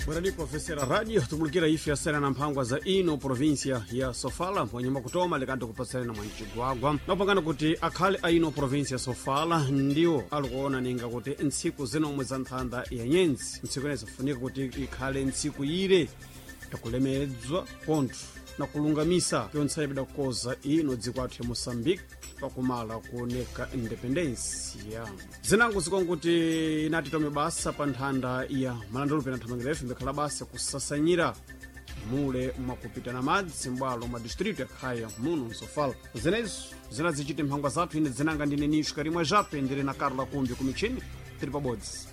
Bwerani ofesera radio tumulikira ife yasera na mphangwa za ino província ya Sofala wanyuma kutoma likanti kupatsirana na mwancigwagwa napangana kuti akhale a ino província ya Sofala ndiwo alikuona ninga kuti ntsiku zinomwe za nthanda ya nyenzi ntsiku ineyi zifunika kuti ikhale ntsiku ire yakulemedzwa pontho na kulungamisa pyonse bidakukoza ino dziko athu ya Moçambique pakumala kuoneka independensia zinango zikonkuti inati tome basa pa nthanda ya malandulupe na nthamangira ife mbikhala basa kusasanyira mule mwakupita na madzi m'bwalo mwa distrito yakhaya muno msofala zinezo zinazichite mphangwa zathu ine zinanga ndine nisho karimwe jape ndiri na Carla Kumbi kumichini tiri pabodzi.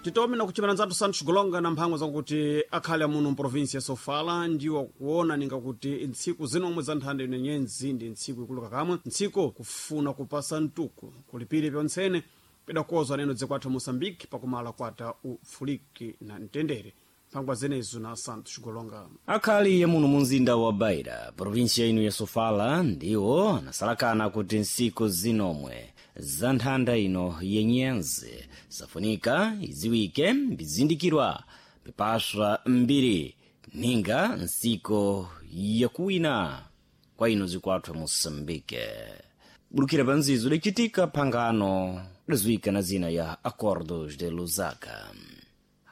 Titome na kuchimana nzathu Santos Golonga na mphangwa zakuti akhale amuno mprovinsi ya Sofala ndiwo kuona ninga kuti ntsiku zinomwe za nthanda ino nyenzi ndi ntsiku ikulu kakamwe ntsiku kufuna kupasa mtuku kulipire pyontsene pidakozwa neno dziko athu Moçambique pakumala kwata ufuliki na mtendere. Mphangwa zenezo na Santos Golonga. Akhali yamuno mu mzinda wa Beira, provinsia ino ya Sofala, ndiwo anasalakana kuti ntsiku zinomwe za nthanda ino yenyenzi safunika iziwike mbizindikirwa pipaswa mbiri ninga ntsiko yakuwina kwa ino zikwathu Moçambique. Bulukira pa nzizo lichitika phangano liziwika na zina ya Acordos de Lusaka.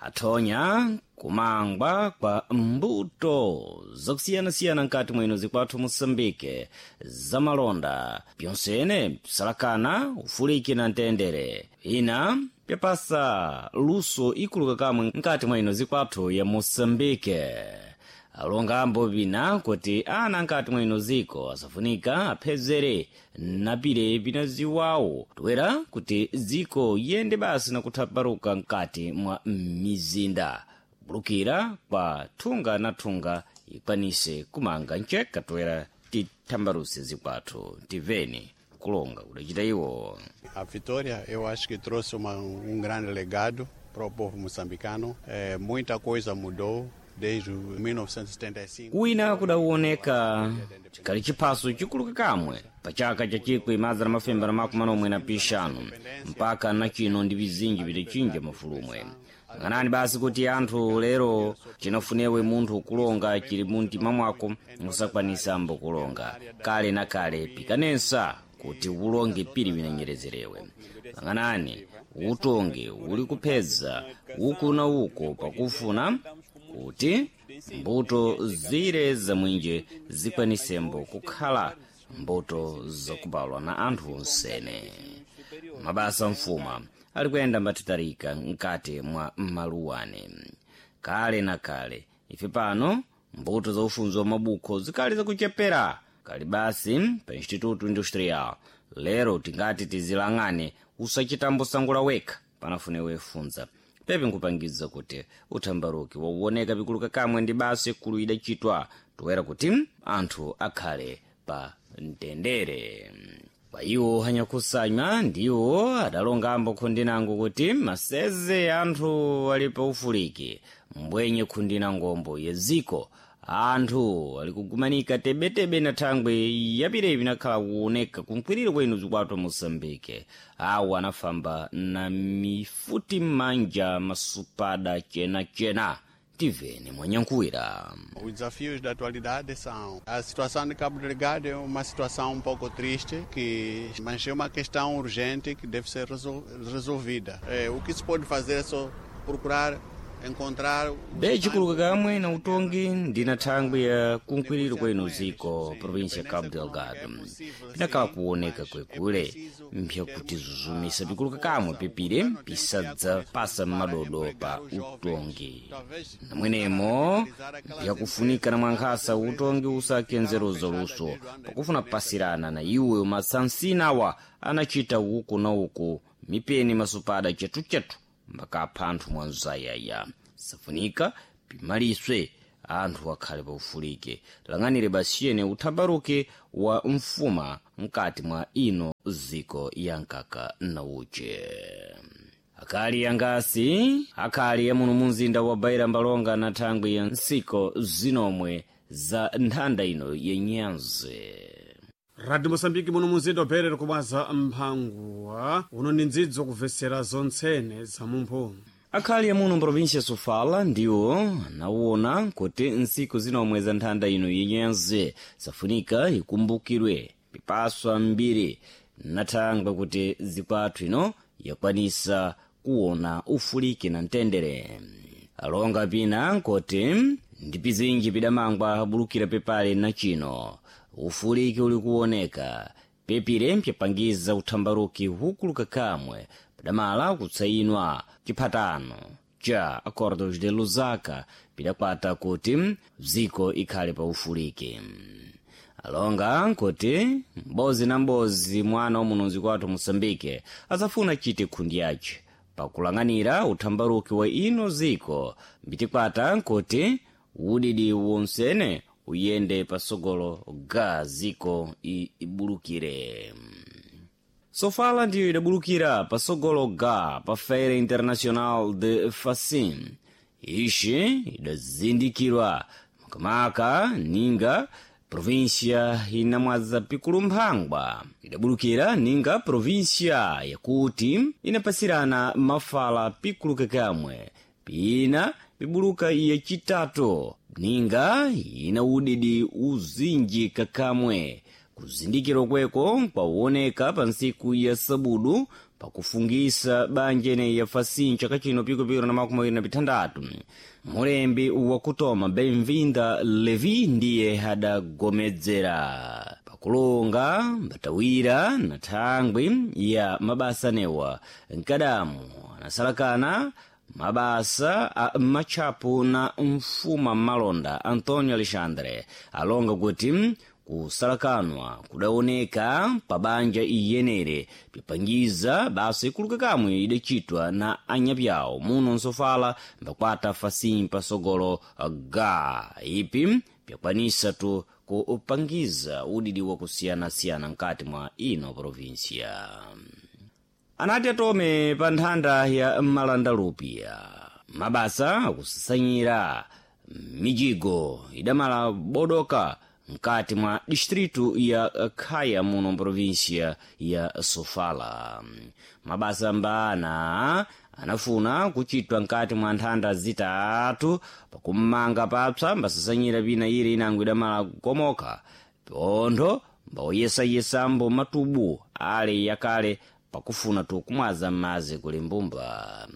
Athonya kumangwa kwa mbuto zakusiyanasiyana nkati mwino zikwathu Moçambique zamalonda pyonsene psalakana ufuliki na mtendere ina pyapasa luso ikuluka kamwe nkati mwa ino zikwathu ya Moçambique. Alongambo pina kuti ana nkati mwa ino ziko asafunika aphezere napire pina ziwawo toera kuti ziko yende basi nakuthaparuka nkati mwa mizinda bulukira kwa thunga na thunga ikwanise kumanga nceka toera tithambaruse zikwathu tiveni kulonga kudacita iwo. A vitória eu acho que trouxe grande legado para o povo moçambicano. Muita coisa mudou desde 1975. Kuwina kudawoneka chikali chiphaso chikuluka kamwe pa chaka cha 1975 mpaka na chino ndi vizinji vitachinja mafulumwe. Ng'anani basi kuti anthu lero chinafunewe munthu kulonga chili muntima mwako musakwanisambo kulonga kale na kale pikanensa kuti ulonge pili vinanyerezerewe. Lang'anani utonge uli kuphedza uku na uko pakufuna kuti mbuto zire zamwinje zikwanisembo kukhala mbuto zakubalwa na anthu onsene. Mabasa mfuma ali kuyenda mbatitarika mkati mwa maluwane kale na kale ife pano mbuto za ufunzi wa mabukho zikali zakuchepera kali basi pa Instituto Industrial lero tingati tizilang'ane usachitambo sangula wekha panafune wefunza pepe nkupangiza kuti uthambaruki wauoneka pikuluka kamwe ndi basi kulu idachitwa toera kuti anthu akhale pa mtendere. Pa iwo anyakusanywa ndiwo adalongambo khundinango kuti maseze anthu ali pa ufuliki mbwenye khundina ngombo yeziko anthu ali kugumanika tebetebe na thangwe yapirepi nakhala kuoneka kunkwiriro kwenu zikwathu Moçambique. Awo anafamba na mifuti m'manja masupada chenachena tivene mwanyankuwira. Os desafios da atualidade são a situação de Cabo Delgado é uma situação um pouco triste, mas é uma questão urgente que deve ser resolvida. O que se pode fazer é só procurar encontrar. Bechikuluka kamwe na utongi ndina thangwi ya kunkwiriro kwenu ziko província Cabo Delgado pinakhala kuoneka kwekule mpyakuti zuzumisa pikuluka kamwe pipire pisadzapasa m'madodo pa utongi namwenemo mpyakufunika na mwankhasa utongi usakenzeruza luso pakufuna pasirana na iwe masansinawa anachita uku na uku mipeni masupada chetuchetu mbakapha anthu mwanzayaya safunika pimaliswe anthu akhale paufulike lang'anire basiyene uthambaruke wa mfuma mkati mwa ino ziko ya nkaka na uche. Akali angasi akhali yamuno mu mzinda wa Beira mbalonga na thangwi ya nsiko zinomwe za nthanda ino yenyanzi. Radio Mosambiki muno muzinda uperere kubwaza mphanguwa uno ni ndzidzo kubvesera zontsene za mumphu. Akhali amuno mprovinsia Sofala ndiwo anawona kuti ntsiku zinomwe za nthanda ino yenyenze safunika ikumbukirwe pipaswa mbiri nathangwe kuti zikwathu ino yakwanisa kuwona ufuliki na mtendere. Alonga pina nkuti ndi pizinji pidamangwa abulukira pepale na chino ufuliki uli kuwoneka pepire mpyapangiza uthambaruki hukuluka kamwe padamala kutsayinwa chiphatano cha Acordos de Lusaka pidakwata kuti dziko ikhale pa ufuliki. Alonga nkuti mbozi na mbozi mwana wamunonzi kwathu Moçambique azafuna chite khundi yace pakulang'anira uthambaruki wa ino ziko mbitikwata nkuti udidi wonsene uyende pasogolo ga ziko ibulukire. Sofala ndiyo idabulukira pasogolo ga pa Feira Internacional de Facim. Ixi idazindikirwa makamaka ninga província inamwaza pikulu mphangwa idabulukira ninga província yakuti inapasirana mafala pikulu kakamwe pina pibuluka yacitatu ninga ina udidi uzinji kakamwe. Kuzindikirwa kweko kwawoneka pa ntsiku ya sabudu pakufungisa banja ineyi ya Facim chaka chino pikupikira na 26. Mulembi wakutoma Benvinda Levi ndiye adagomedzera pakulonga mbatawira na thangwi ya mabasa newa nkadamu anasalakana mabasa a matchapu na mfuma malonda Antonio Alexandre alonga kuti kusalakanwa kudaoneka pa banja iyenere pipangiza basa ikuluka kamwe idacitwa na anyapyawo muno nsofala mbakwata Facim pasogolo ga ipi pyakwanisa tu kupangiza udidi wakusiyanasiyana mkati mwa ino provinsia. Anati atome pa nthanda ya malandalupia mabasa akusasanyira mijigo idamala bodoka mkati mwa distritu ya Khaya muno província ya Sofala. Mabasa mbana anafuna kuchitwa mkati mwa nthanda zitatu pakummanga papsa mbasasanyira pina ili inango idamala kukomoka pontho mbawoyesayesambo matubu ale yakale pakufuna tu kumwaza m'madzi kuli mbumba.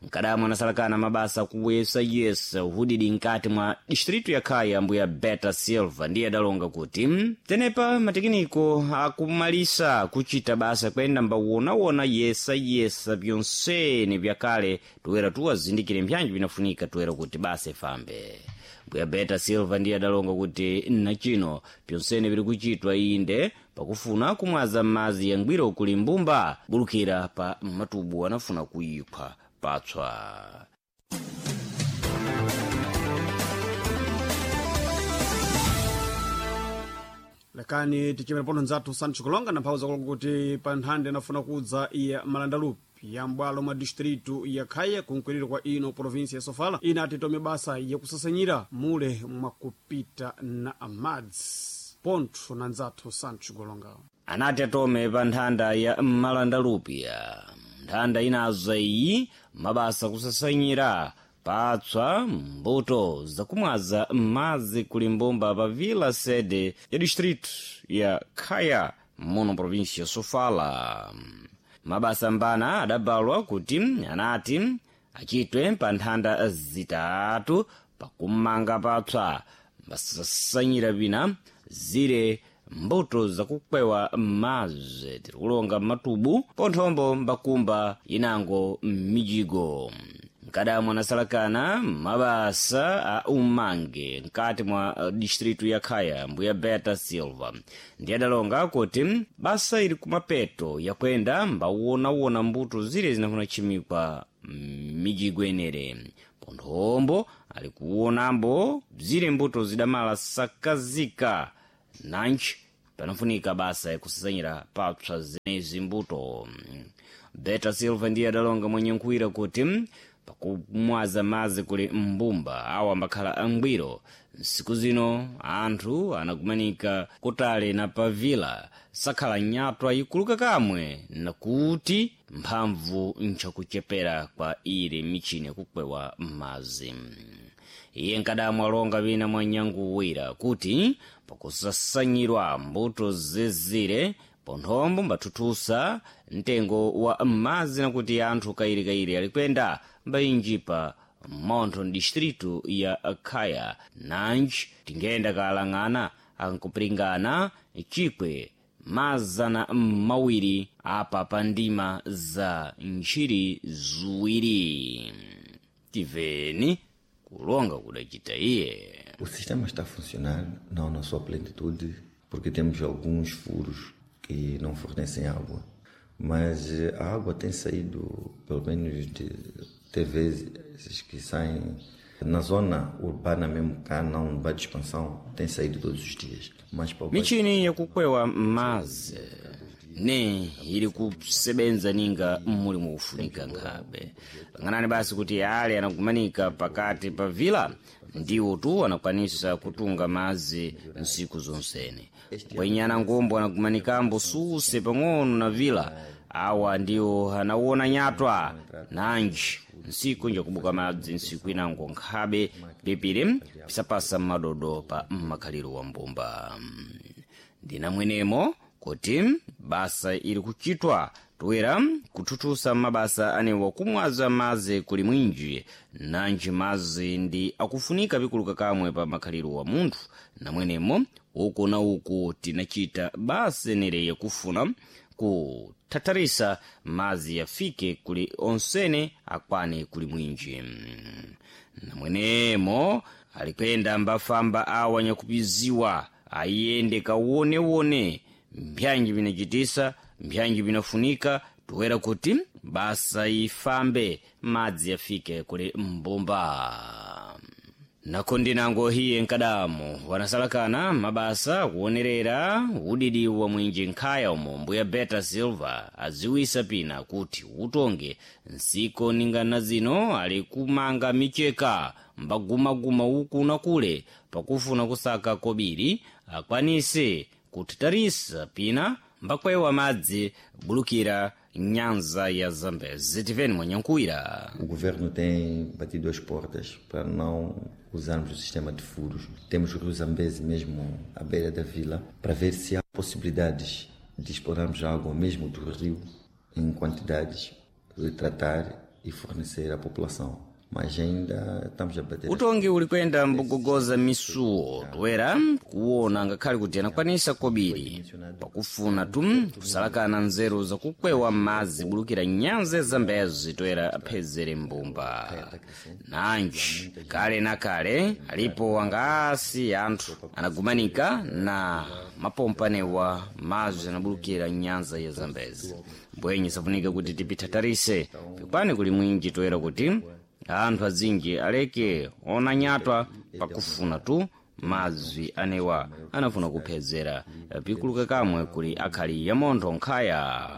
Nkadamu anasalakana mabasa kuyesayesa uhudidi nkati mwa distritu ya Khaya mbuya Beta Silva ndiye adalonga kuti tenepa matekiniko akumalisa kuchita basa kwenda mbawonawona yesayesa byonsene byakale toera tuwazindikire mpyanji binafunika toera kuti basa ifambe. Mbuya Beta Silva ndiye adalonga kuti nachino pyonsene biri kuchitwa inde pakufuna kumwaza m'madzi yangwiro kuli mbumba bulukira pa matubu anafuna kuyiphwa patswa. Lekani tichimere pono nzathu Sancho Kulonga na mphawu zakulonga kuti pa nthanda inafuna kudza iya malandalupi ya m'bwalo mwa distritu ya Khaya kunkwiriro kwa ino província ya Sofala inati tome basa yakusasanyira mule mwakupita na amadzi pontho na nzathu Sancho Kulonga. Anati atome pa nthanda ya malandalupia nthanda inaza iyi mabasa kusasanyira patswa mbuto zakumwaza m'madzi kuli mbumba pa vila sede ya distritu ya Khaya muno província ya Sofala. Mabasa mbana adabalwa kuti anati achitwe pa nthanda zitatu pakumanga patswa mbasasanyira pina zire mbuto zakukwewa m'madzi tirikulonga matubu ponthombo mbakumba inango m'mijigo. Nkadamu anasalakana mabasa a umange mkati mwa distritu ya Khaya mbuya Beta Silva ndiye adalonga kuti basa ili kumapeto yakwenda mbawonawona mbuto zire zinafuna chimikwa m'mijigo enere ponthombo ali kuwonambo zire mbuto zidamala sakazika nanji panafunika basa yakusasanyira papsa zenezi mbuto. Beta Silva ndiye adalonga mwenye nkhwira kuti Pakumwaza madzi kuli mbumba awo ambakhala angwiro. Nsiku zino anthu anakumanika kutali na pavila sakhala nyatwa ikuluka kamwe, nakuti mphamvu nchakuchepera kwa ili michini yakukwewa madzi. Iye nkadamwa alonga wina mwa nyanguwira kuti pakusasanyirwa mbuto zezire ponthombo mbathuthusa mtengo wa madzi, nakuti anthu kayirikayiri alikwenda mbayinjipa montho distritu ya Khaya. Nanji tingenda kalang'ana ankupiringana 200,000 apa pa ndima za ntchiri ziwiri. Tiveni kulonga kudacita iye. O sistema está a funcionar, não na sua plenitude, porque temos alguns furos que não fornecem água. Mas a água tem saído, pelo menos de TVs que saem na zona urbana mesmo, cá não vai de expansão, tem saído todos os dias. Mas para o Michini yakukwewa madzi ne ili kusebenza ninga muli mukufunika nkhabe. Lang'anani basi kuti ale anakumanika pakati pa vila ndiwo tu anakwanisa kutunga madzi nsiku zonsene. Kwenyana ngombo anakumanikambo suse pang'ono na vila awa ndiwo anawona nyatwa nanji nsiku njakubuka madzi nsiku inango nkhabe pipiri pisapasa madodo pa mmakhaliro wa mbumba. Ndinamwenemo kuti basa ili kuchitwa toera kuthuthusa mabasa anewa kumwaza madzi kuli mwinji, nanji madzi ndi akufunika pikuluka kamwe pa makhaliro wa munthu. Namwenemo uku na uku tinachita basa nere yakufuna kuthatharisa madzi yafike kuli onsene akwane kuli mwinji. Namwenemo alikwenda mbafamba awa nyakupiziwa ayende kawonewone mbyanji vinachitisa mbyanji vinafunika toera kuti basa ifambe madzi yafike kuli mbumba. Nako ndinango hiye nkadamu wanasalakana mabasa kuonerera udidi wa mwinji nkhaya umo mbuya Beta Silva aziwisa pina kuti utonge nsiko ningana zino ali kumanga micheka mbagumaguma uku na kule pakufuna kusaka kobiri akwanise kuthatarisa pina mbakwewa madzi bulukira nyanza ya Zambezi. Tiveni mwanyankuwira. O governo tem batido as portas para não usarmos o sistema de furos. Temos o rio Zambeze mesmo à beira da vila para ver se há possibilidades de explorarmos água mesmo do rio em quantidades, de tratar e fornecer à população. Mas ainda estamos a bater. Utongi ulikwenda mbugogoza misuwo toera kuwona ngakhale kuti anakwanisa kobiri pakufuna tu kusalakana nzeru zakukwewa madzi bulukira nyanza ya Zambezi toera aphezere mbumba. Nanji kale na kale alipo angaasi anthu anagumanika na mapompanewa madzi anabulukira nyanza ya Zambezi. Mbwenye safunika kuti tipithatarise pikwane kuli mwinji toera kuti anthu azinji aleke ona nyatwa pakufuna tu madzi anewa anafuna kuphezera pikuluka kamwe kuli akhali ya montho nkhaya.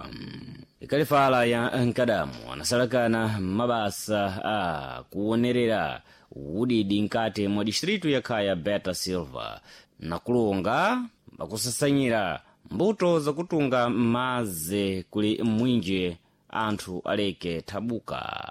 Ikalifala ya nkadamu anasalakana mabasa a kuonerera udidi nkati mwa distritu ya Khaya Beta Silva nakulonga pakusasanyira mbuto zakutunga madzi kuli mwinji anthu aleke thabuka.